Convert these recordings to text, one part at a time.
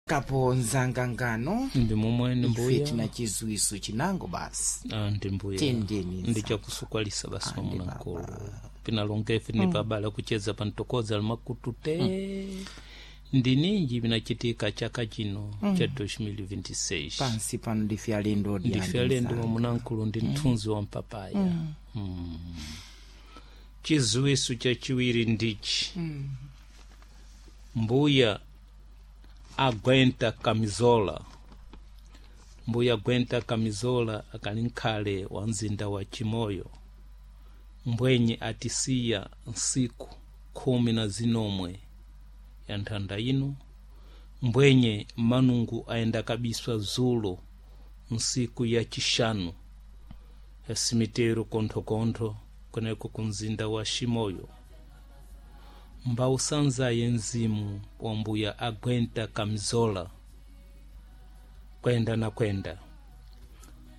Kapo nzangangano Ndi momwene ife mbuya. tina chiziwiso chinango basi. Ah, ndi mbuya. Tendeni Ndi chakusukwalisa basi mwamuna nkulu pinalonga ife ni pabala kucheza pantokoza limakutu te. Ndi ninji vinachitika chaka chino cha 2026. Pansi pano ndife alendo. Ndife alendo, mwamunankulu, ndi mthunzi wa mpapaya. Chiziwiso chachiwiri ndichi: mbuya agwenta kamizola, mbuya agwenta kamizola akali nkhale wa mzinda wa Chimoyo, mbwenye atisiya nsiku 19 ya nthanda ino. Mbwenye manungu ayenda kabiswa zulo nsiku ya chixanu ya simitero konthokontho kweneko ku mzinda wa Chimoyo. Mbausanzaye mzimu wa mbuya agwenta kamizola kwenda na kwenda.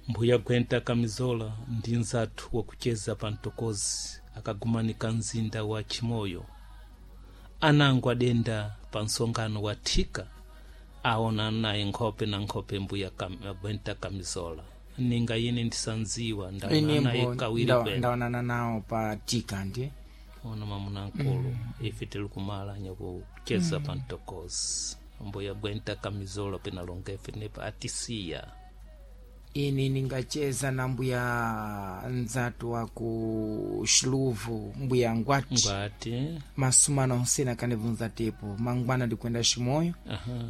Mbuya gwenta kamizola ndi nzathu wakucheza pa mtokozi akagumanika mzinda wa Chimoyo. Anango adenda pa msonkhano wa thika aona naye nkhope na nkhope mbuya agwenta kamizola. Ninga ine ndisanziwa ndaona naye kawiri kwene. Ndaonana nawo pa tika ndi Ona, mamunankulu, ife tili kumalanya kucheza pa mtokozi, mbuya gwenta kamizola penalonga ife nepa atisiya. Ine ningacheza na mbuya nzatu wa ku Xiluvu, mbuya Ngwati. Ngwati. Masumana onsena kanibvunza tepo mangwana ndikwenda Ximoyo,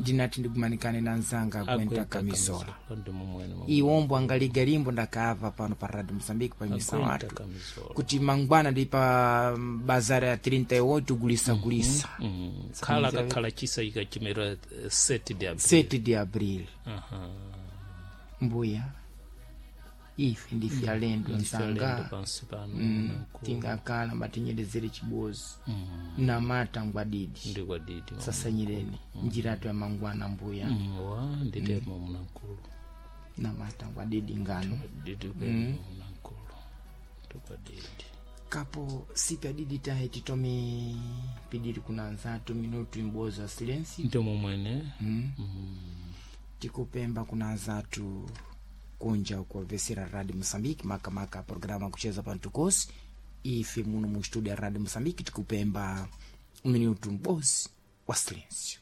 ndinati ndigumanikane na nzanga agwenta kamizola. Ndi mumwene. Iwombo angaliga limbo ndakaava pano pa Radio Mozambique pa misa Agwenta watu kamizola. kuti mangwana ndi pa bazara ya 38 gulisa gulisa. Khala kakhala chisa ikachimera 7 de abril. 7 de abril. Mbuya, ife ndife alendo Alendo nzanga. pansi pano. Tingakala matinyerezere chibozi namata ngwadidi. Ndi kwadidi. Sasanyireni njiratu ya mangwana, mbuya. Wa nditema munankulu. Namata ngwadidi ngano. Didi kwene, mamunankulu, ndi kwadidi. Kapo sipi adidi tahe titome pidiri kuna nzatu minutu imbozo ya silensi. Ndi momwene. Tikupemba kuna nzatu kunja kuwavesera Radio Mosambiki, makamaka programa kucheza pantukosi. Ife muno mu studio ya Radio Mosambiki tikupemba minutu mbozi wa silensio.